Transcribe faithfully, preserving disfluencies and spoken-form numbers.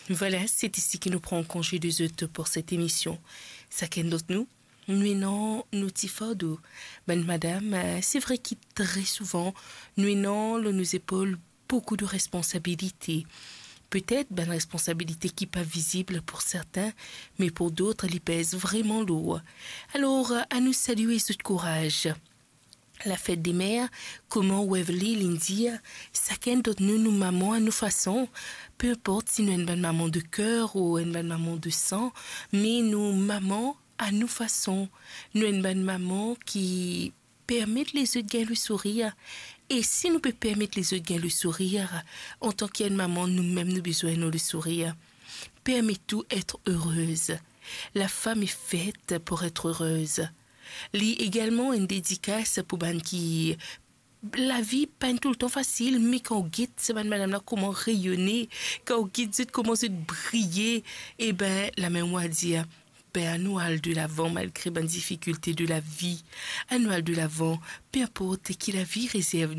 Vwala, se isi ki nou pran konze de zot pou set emision. Sakenn dan nou, nou ena nou ti fardo. Bann madam, eh, se vre ki tre souvan, nou ena lor nou zepol boukou de responsabilite. Petet bann responsabilite ki pa vizib pou sertin, me pou dot, li pez vreman lour. Alor, anou salie zot kouraz. Lafet de mer, kouma Waverly linn dir, sakenn dan nou, nou mama a nou fason. Pe inport si nou enn bann mama de ker ou enn bann mama de san, me nou mama a nou fason. Nou enn bann mama ki permet lezot gagn le sourir. E si nou pe permet lezot gagn le sourir, antan ki enn mama, nou mem nou bizin ena le sourir. Permet ou etre erez. La femme est faite pour être heureuse. Li egalman enn dedikas pou bann ki lavi pa enn toultan fasil, me kan ou get sa bann madam la kouma reyone, kan ou get zot kouma zot briye, e ben, lamem mo a dir, ben, anou al de lavan malgre bann difikilte de lavi. Anou al de lavan, pe inport ki lavi rezerv nou.